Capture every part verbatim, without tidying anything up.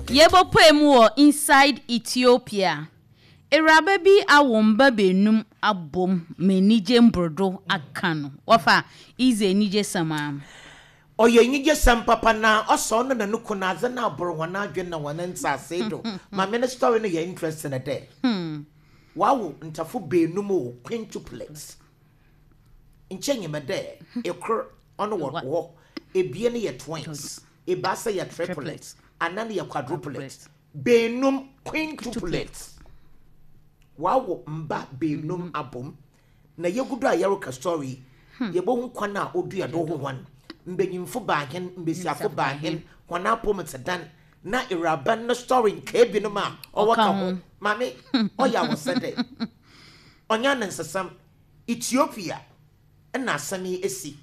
Yɛbɔpɔe mu wɔ inside Ethiopia. Awuraba bi awo mba benum abom ma anigye mborodo aka no. Wɔfa ize anigye sɛm a. Ɔyɛ anigye sɛm papa na ɔsɔ ɔno na no kun adze na aboro wɔn adwene na wɔn nsaase do. Maame no story no yɛ interesting dɛ. Wawo ntafo benum o, quintuplets. Nkyɛn nyima dɛ ekor ɔno wɔ hɔ, ebien yɛ twins, ebaasa yɛ triplets, anan yɛ quadruplets. Benum, quintuplets. Wawo mba benum abom na yɛgu do a yɛreka story, yɛbɛhu kwan a odua do ho hɔn mbanyimfo baahen, mbesiafo baahen, hɔn apom te dan na awuraba no story nkaa binom a ɔwɔ ka ho. Maame, ɔyɛ awɔsɛ dɛ ɔnya ne nsesam. Ethiopia ɛna asɛm yi esi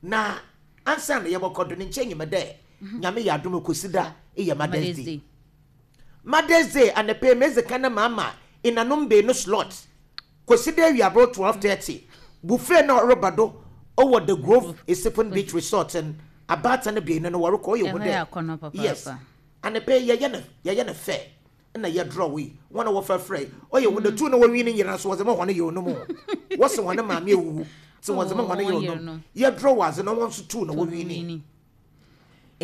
na ansa na yɛbɛkɔ do ne nkyɛn nyima dɛ Nyame yɛ adom, kɔsi da ɛyɛ Mother's Day. Mother's Day anapɛ mezi ka ne maama inanom beenu slot kɔsi da awiaboro twelve thirty buffet na ɔreba do ɔwɔ The Grove Esipon Beach Resort n abaata no beenu no wɔrekɔ ɔyɛ hu dɛ yes, anapɛ yɛyɛ no yɛyɛ no fɛ na yɛ draw yi wɔn a wɔfɛ frɛ ɔyɛ hu dɛ tu na wɔnwi ne nyinaa so wɔdze ma wɔn yɛ onum wɔsi wɔn maame ewuwu ti wɔdze ma wɔn yɛ onum. Yɛ draw adze na wɔn nso tu na wɔnwi ne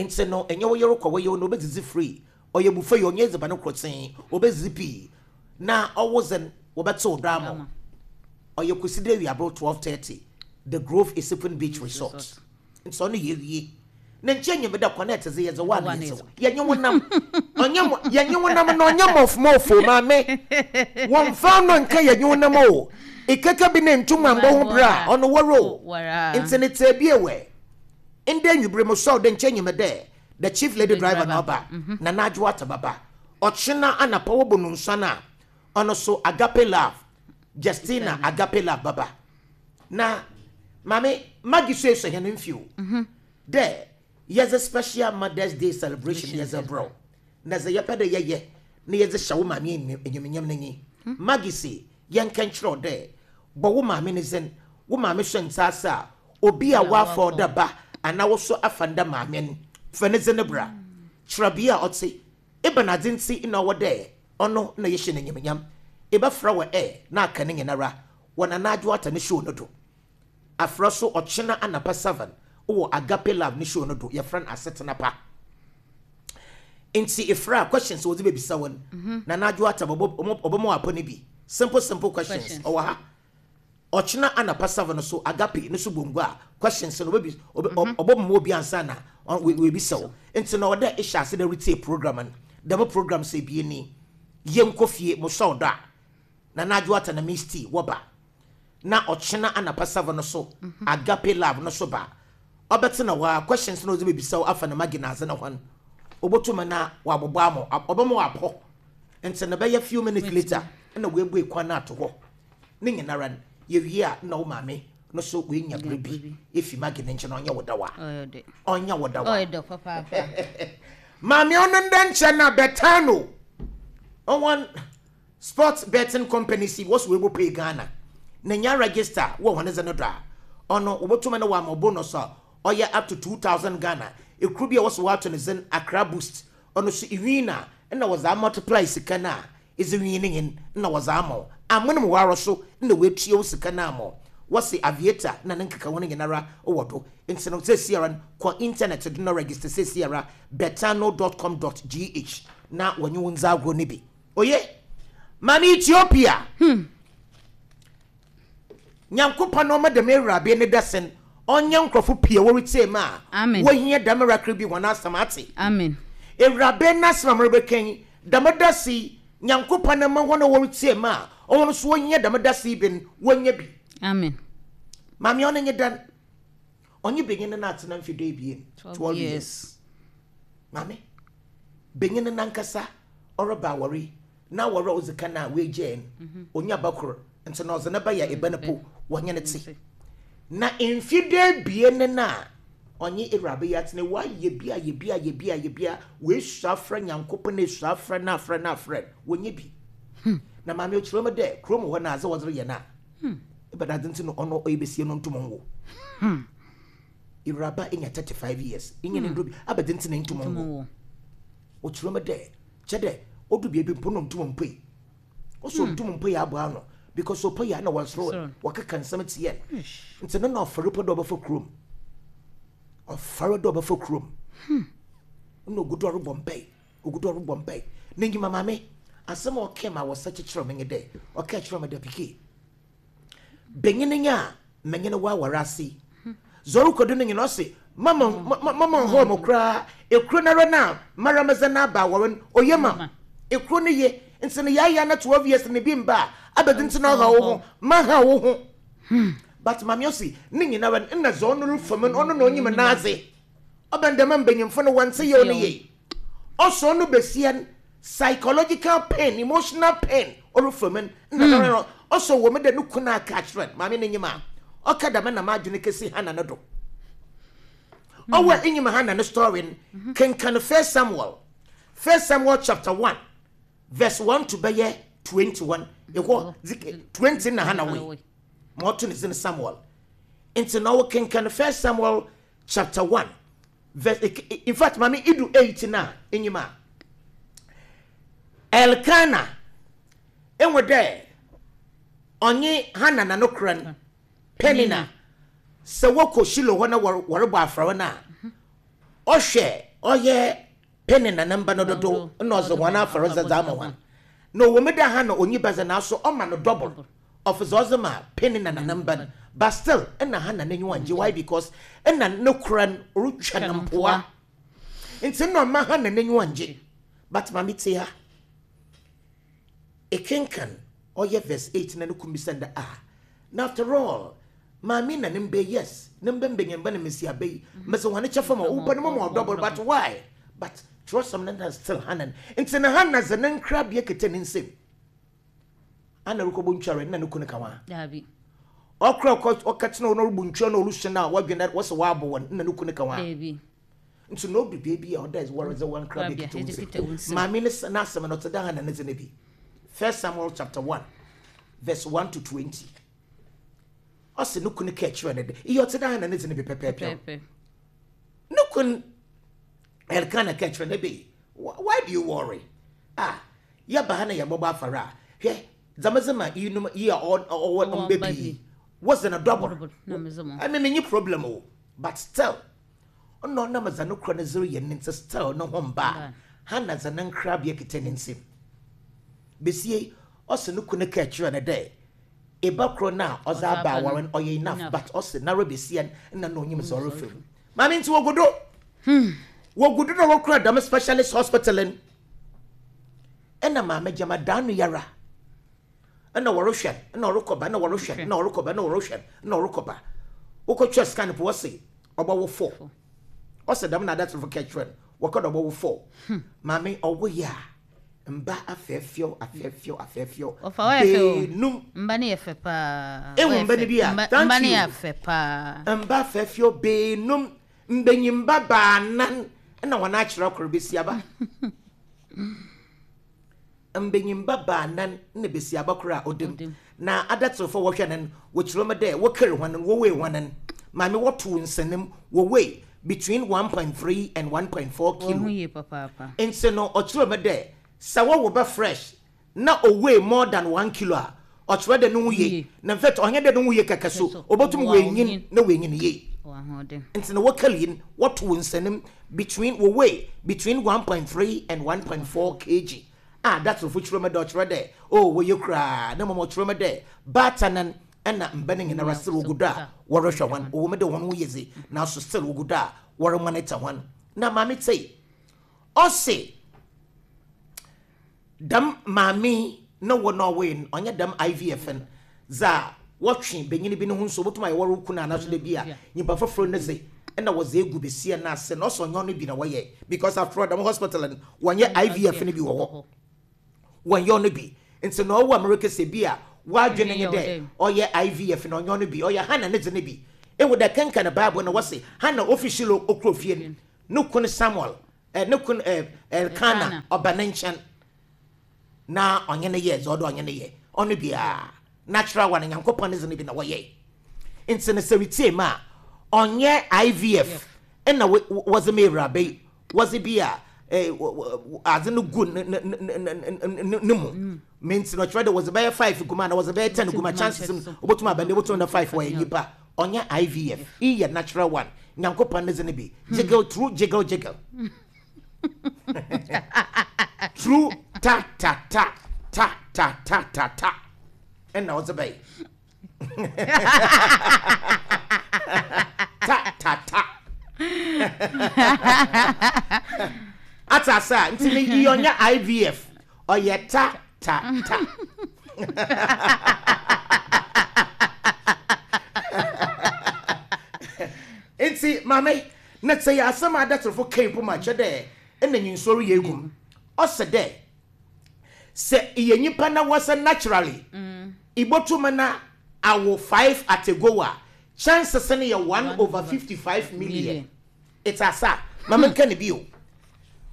nti no ɛnyɛ wo yɛrɛ kɔ wɔyɛ no obɛdzidzi free. Ɔyɛ buffet yɛ, ɔnyɛ edziban korɔtee, obɛdzidzi pii na ɔwɔ dzen wɔbɛtew do ama. Ɔyɛ kwesi de awiaboro twelve thirty, The Grove Esipon Beach Resort. Nti ɔno yɛ wie ne nkyɛn nyɛ da connect dze yɛdze wa na yɛdze yɛnye wo nam ɔnyɛ mo yɛnye wo nam na ɔnyɛ mɔfmɔfo. Maame, wɔmfa no nka yɛnye wo nam o, ikeke bi ne ntum ambɔ ho bere a ɔno wɔre o. Nti ne tɛ bi ewɛ ndɛ nwibere mo sɔw de nkyɛn nyɛ dɛ the chief lady driver na ɔba na n'adwo ata baba. Ɔkyena anapa wɔbɔ no nsa na ɔno so Agape Love, Justina Agape Love baba. Na maame Maggie so esɔ hɛn mfio dɛ yɛdze special Mother's Day celebration yɛdze brɛw na dze yɛpɛ dɛ yɛyɛ na yɛdze hyɛ wo maame enyimnyam n'enyi. Maggie se yɛnka nkyerɛw dɛ bɔ wo maame ne dzin, wo maame so nsaase a obi a wafa ɔda ba anaa woso afa nda maame no fa ne dzin bra, kyerɛ bea a ɔte ebɛn adze nti na ɔwɔ dɛ ɔno na yɛhyɛ n'enyimnyam. Ebɛfrɛ wɔ ɛ na aka ne nyinara wɔ Nana Adwo Ata ne show no do. Afrɛ so ɔkyena anapa seven wɔ Agape Love ne show no do, yɛfrɛ no Asetena Pa. Nti efrɛ a, questions wɔdze bɛbisa wɔn, Nana Adwo Ata ɔbɛma apɔ ne bi, simple simple questions. Ɔwɔ ha ɔkyena anapa seven so Agape ne so bongo a questions no ɔbɛbi ɔbɛma obi ansa na wɔebisa wo. Nti na ɔdɛ ehyɛ ase dɛ retie program no, dɛm program sɛ ebie ni yɛnkɔ fie mosɔw do a Nana Adwo Ata na Miss T wɔba na ɔkyena anapa seven no so Agape Love no so ba ɔbɛtena hɔ a questions no ɔdze bɛbisa wo afa na Maggie na adze no hɔn obotum na wabobɔ ama ɔbɛma wapɔ. Nti na bɛyɛ few minutes later ɛna woebue kwan no ato hɔ ne nyinara no yɛwie a na wo maame no so woenya bere bi efi Maggie ne nkyɛn. Ɔnyɛ wo dawa, ɔnyɛ wo dawa. Maame, ɔno ndɛ nkyɛn na Betano ɔwɔn sports betting company si wɔso wɔbɔ pay Ghana na nya register wɔ wɔn dze no do a ɔno wɔbɛtumi no wɔama bonus a ɔyɛ up to two thousand Ghana. Ekuru bi a wɔso wɔato ne dzin Accra Boost, ɔno so iwin na ɛna wɔdze amultiply sika no a ɛdze win ne nyin na wɔdze ama wo amonom wɔ arɔ so na wɔatua wo sika no ama wo. Wɔse Aviator na ne nkeka ho no nyinara wɔ do. Nti no sɛsiara no kɔ internet do na register sɛsiara, betano dot com dot G H, na wɔnye wo ndza agorɔ no bi. Oye maame, Ethiopia hmm. Nyankopɔn na ɔma dɛm awurabe ne dɛsen ɔnyɛ nkurɔfo pii a wɔretie mu a wɔhia dɛm miracle bi wɔn asɛm ate. Amen. Awurabe n'asɛm a merebɛka yi, dɛm dase yi, Nyankopɔn na ma wɔn a wɔretie mu a ɔwɔn nso wɔhia dɛm dase yi bi no wɔnyɛ bi. Amen. Maame, ɔno nye dan ɔnye benyin no atena mfe du ebien, twelve years. Maame, benyin no nankasa ɔreba awɔre na awɔre a ɔdzi kan a woegyae no mhm. onya ba kor. Nti na ɔdze ne ba yɛ eba no po wɔnye ne te na mfe du ebien no na ɔnye awuraba yi atena, wayɛ bi ayɛ bi ayɛ bi ayɛ bi a woesu afrɛ Nyankopɔn, esu afrɛ na afrɛ na afrɛ, wɔnyɛ bi hmm. Na maame okyerɛ mu dɛ kurom hɔ na adze wɔdze reyɛ no a hmm. Ebɛnadze nti no ɔno ɔyɛ besie no ntom nwo hmm. Ewuraba enya thirty five years enye ne ndo bi abɛdze nti na ntom nwo. Ɔkyerɛ me dɛ kyɛ dɛ ɔdu baabi mpo no ntum mpo yi, ɔsɔ ntum mpo yi aboa ano because ɔpɛ yi a na wɔsoro wɔkeka nsɛm tiɛ. Nti no na ɔfɔre pɔ dɛ ɔbɛfa kurom, ɔfɔre dɛ ɔbɛfa kurom na ogu do ɔrebɔ mpae, ogu do ɔrebɔ mpae. Na enyima maame asɛm a ɔka ma wɔsɛ kyekyerɛ me nye dɛ ɔka kyerɛ me dɛ, "Pike benyin nya a menye no waware ase zɔre kɔdu no nyina." Ɔse mama mama nhɔ mo koraa, ekuro nara na mara mɛdze n'aba awɔre no oye ma ekuro no ye. Nti no yɛayɛ na twelve years ne bi mba a abɛdi, nti na ɔha wo ho ma ha wo ho. But maame ɔsi ne nyinara nna dza ɔno refam no, ɔno na onyim n'adze ɔbɛn dɛm mbanyimfo no wɔnte yɛ ɔno yie. Ɔsɔ ɔno besia no psychological pain, emotional pain ɔrefam no nna no ɔsɔ wɔ mu dɛ ne kunu aka akyerɛ no. Maame n'enyim a ɔka dɛm na m'adwene kesi Hana no do. Ɔwɔ enyim Hana ne story no, kenkan First Samuel, First Samuel chapter one verse one to bɛyɛ twenty-one. Ɛhɔ twenty na Hana wei ma ɔto ne dzin Samuel. Nti na ɔwɔ kenkan First Samuel chapter one verse, in fact maame idu eight na enyim a Elkana ehu dɛ ɔnye Hana na no kora no Penina sɛ wɔkɔ Shilo hɔ na wɔrebɔ afɔre no a, ɔhwɛ ɔyɛ Penina ne mba no dodo na ɔdze wɔn afɔre dze ama wɔn. Na ɔwɔ mu dɛ Hana onyi ba dze, naaso ɔma no double of dze ɔdze ma Penina na ne mba no, but still ɛna Hana n'enyiwa ngye. Why? Because ɛna ne kora no ɔretwa ne mpoa, nti na ɔma Hana n'enyiwa ngye. But maame te ha ekenkan ɔyɛ verse eight na ne kum bisa dɛ, "Ah, na after all maame na ne mba, yes, ne mba mbanyimba na mesiaba yi mbɛsɛ wɔn kyɛ fam a ɔwɔ no mu ma ɔdouble, but why?" But kyerɛsɛm no na still Hana nti na Hana dze ne nkrabea kete ne nsam ana rekɔbɔ ntware na ne kunu ka wa Dabi. Ɔkora ɔkɔ ɔka tena ɔno ɔrebɔ ntwa na ɔrehyɛ no a wɔdwene wɔsɛ wɔabɔ wɔn na ne kunu ka wa. Dabi. Nti na odu beebi a ɔda wɔredze wɔn nkrabea Nkrabea, kete wo kete wo nsam. nsam. Maame ne n'asɛm no ɔte dɛ Hana ne dze no bi. First Samuel chapter one verse one to twenty, ɔsɛ ne kunu ka kyerɛ ne de iye ɔte dɛ Hana ne dze no bi pɛpɛɛpɛ. Pɛpɛ. Ne kun Elkana ka kyerɛ ne be, "Why do you worry? Ah, yɛba ha na yɛbɔbɔ afɔre a, hwɛ dzamedze ma yinom yi a ɔwɔ Ɔwɔ mba mba pii wɔdze no double." Double, na medze mo. I mean, menye problem o, but still ɔno ɔnam dza no kura no zero yɛ ne nti still ne ho mba a Mba. Hana dza ne nkrabea kita ne nsam besie. Ɔsɛ ne kunu ka kyerɛ no dɛ eba koro no a ɔdze Ɔdze aba aba no, awɔre no ɔyɛ enough. Enough. But ɔsɛ nara besia no nna na onyim dza ɔrefa mu. Maame, nti wɔgu do wɔgu do na wɔkura dɛm specialist hospital no, ɛna maame gyama daa no yara ɛna wɔrehwɛ no, ɛna ɔrekɔba, ɛna wɔrehwɛ no, ɛna ɔrekɔba, ɛna wɔrehwɛ no, ɛna ɔrekɔba. Wokɔtwa scan po, wɔse ɔbɛwo four. Ɔsɛ dɛm na adatofo ka kyerɛ no wɔkɔ dɛ ɔbɛwo four. Maame, ɔwo yɛ a mba afɛɛfɛw afɛɛfɛw afɛɛfɛw. Ɔfa wɔyɛ fɛ o. Beenum. Mba ne yɛ fɛ paa. Ehu Wɔyɛ mba no fɛ. bi a, Mba thank mba ne you. yɛ fɛ paa. Mba afɛɛfɛw beenum, mbanyimba baanan ɛna wɔn akyerɛ koro besiaba. Mbanyimba baanan na besiaba koro a ɔdam. Ɔdam. Na adatefo wɔhwɛ no no wɔkyerɛ mu dɛ wɔkari hɔn no, wɔwei hɔn no, maame, wɔto nsanim, wɔwei between one point three and one point four Wɔn kilo. ho yie papaapa. Nti no ɔkyerɛ mu dɛ sɛ wɔwɔ bɛ fresh na ɔweigh more than one kilo a, ɔkyerɛ dɛ ne ho yie. Yie. Na in fact ɔnyɛ dɛ ne ho yie kɛkɛ so, So, obotum ɔwɔ wɔenyin ahoɔden. na wɔenyin yie. Wɔ ahoɔden. Nti na wɔkali yi wɔto nsanim between wɔweigh between one point three and one point four kilograms a datofo kyerɛ mu dɛ ɔkyerɛ dɛ oh wɔyɛ koraa na mmom ɔkyerɛ mu dɛ baatanan ɛna mba no nyinara still wɔgu do a wɔrehwɛ hɔn. Ɔwɔ mu dɛ wɔn ho yɛ dze, nanso still wɔgu do a wɔremonitor hɔn. Na maame tei ɔse dɛm maame na wɔ na ɔwɔ no ɔnyɛ dɛm I V F no dza wɔtwe benyin bi ne ho nso wotum ayɛ wɔre kunu anaso de bi a nyimpa foforɔ no dze ɛna wɔdze egu besia no ase na ɔsɛ ɔnyɛ ɔno bi na wɔyɛ, because after all dɛm hospital no wɔnyɛ I V F no bi wɔ hɔ, wɔnyɛ ɔno bi. Nti na ɔwɔ America sɛ bi a wadwene nye dɛ ɔyɛ I V F na ɔnyɛ ɔno bi, ɔyɛ Hana ne dze no bi. Ewu dɛ kenkan Bible na wɔse Hana ofi Shilo okuro fie no, ne kun Samuel ɛ ne kun ɛ Elkana ɔba ne nkyɛn na ɔnye ne yɛ dza ɔdɔ ɔnye ne yɛ ɔno biara natural one, Nyankopɔn ne dze no bi na wɔyɛ. Nti no sɛ retie mu a, ɔnyɛ I V F ɛna wɔdze ma awuraba yi, wɔdze bi a eh, adze no gu ne ne ne ne mu minti no kyerɛ dɛ wɔdze bɛyɛ five gu mu ana wɔdze bɛyɛ ten gu mu a, chances no obotum aba dɛ obotum na five wɔyɛ nyimpa. Ɔnyɛ I V F, iyi yɛ natural one. Nyankopɔn ne dze no bi jiggle true, jiggle jiggle true, ta ta ta ta ta ta ta ta, ɛna ɔdze bɛyɛ ta ta ta ata asa. Nti ne iyi ɔnyɛ I V F, ɔyɛ ta ta ta. Nti maame na sɛ yɛ asɛm a adatserefo kan po ma kyerɛ dɛ ɛna nyinsɔre yɛ egum, ɔsɛ dɛ sɛ yɛ nyimpa na wɔsɛ naturally ibotum na awo five at a go a, chances no yɛ one over fifty five million. It's asa maame nka ne bio,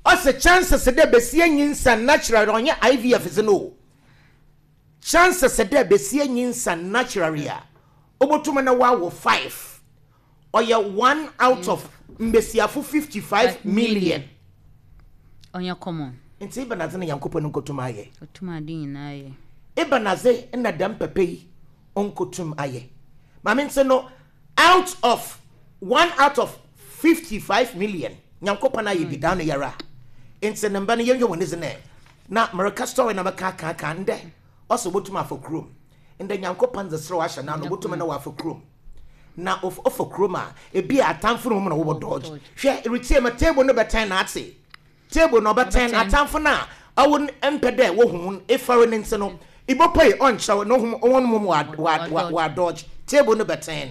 ɔsɛ chances dɛ besie nyinsa naturally, ɔnyɛ I V F dze no o, chances dɛ besie nyinsa naturally a obotum na wawo five, ɔyɛ one out of mbesiafo fifty five million. Ɔnyɛ common. Nti ibanadze na Nyankopɔn nkotum ayɛ? Ɔtum ade nyinaa yɛ. Ibanadze na dɛm pɛpɛ yi ɔnkotum ayɛ, maame? Nti no out of one out of fifty five million, Nyankopɔn ayɛ bi daa no yɛra. Nti ne mba no, yɛnhwɛ wɔn dze nɛ na mmereka story na mɛka aka ndɛ. Ɔsɛ obotum afa kurom ndɛ, Nyankopɔn dze serew ahyɛ n'ano, obotum na wafa kurom na of- ɔfa kurom a, ebi a atamfo no mu na wɔwɔ dodge. Hwɛ, retie ma table no bɛtɛn na ate table na ɔbɛtɛn. Ɔbɛtɛn. Atamfo no a ɔwɔ mpɛ dɛ wohu efare ne nti no ibɔpɔi ɔnkyɛw na ohun wɔn mu wa wa wa wa dodge table no bɛtɛn.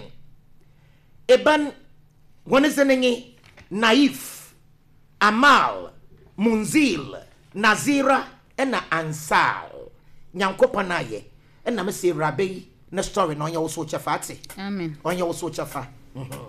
Eban wɔn dze ne nye Naif, Amal, Munzil, Nazira ɛna Ansal. Nyankopɔn ayɛ ɛna mɛ sɛ Awuraba yi ne story na ɔnyɛ wo so kyɛfa ate. Amen. Ɔnyɛ wo so kyɛfa. Mhm.